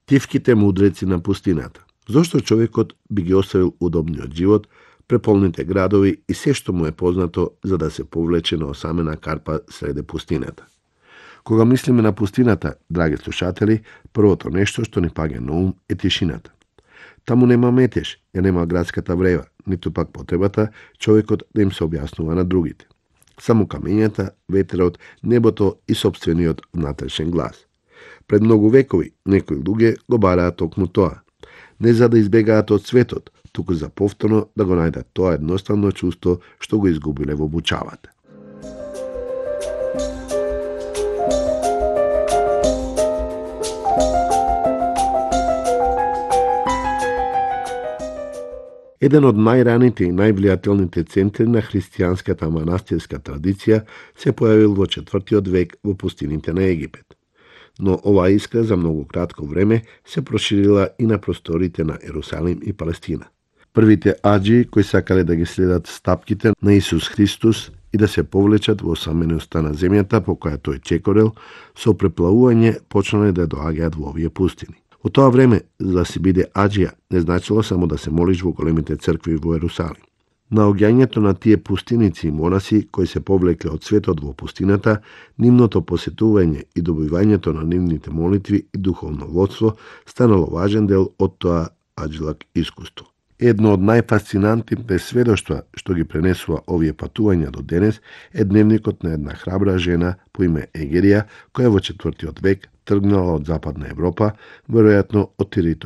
Тивките мудреци на пустината. Зошто човекот би ги оставил удобниот живот, преполните градови и се што му е познато за да се повлече на осамена карпа среде пустината? Кога мислиме на пустината, драги слушатели, првото нешто што ни паѓа на ум е тишината. Таму нема метеж, ја нема градската врева, ниту пак потребата човекот да им се објаснува на другите. Само камењата, ветерот, небото и сопствениот внатрешен глас. Пред многу векови некои луѓе го бараат токму тоа. Не за да избегаат од светот, туку за повторно да го најдат тоа едноставно чувство што го изгубиле во обучавата. Еден од најраните и највлијателните центри на христијанската манастирска традиција се појавил во 4. век во пустините на Египет. Но оваа искра за многу кратко време се проширила и на просторите на Ерусалим и Палестина. Првите аџии кои сакале да ги следат стапките на Исус Христос и да се повлечат во осаменоста на земјата по која тој чекорел, со преплавување почнале да доаѓаат во овие пустини. Во тоа време, за да си биде аџија, не значило само да се молиш во големите цркви во Ерусалим. Наоѓањето на тие пустиници и монаси кои се повлекле од светот во пустината, нивното посетување и добивањето на нивните молитви и духовно водство станало важен дел од тоа аџилак искуство. Едно од најфасцинантните сведоштва што ги пренесува овие патувања до денес е дневникот на една храбра жена по име Егерија, која во 4. век тргнала од Западна Европа, веројатно од територија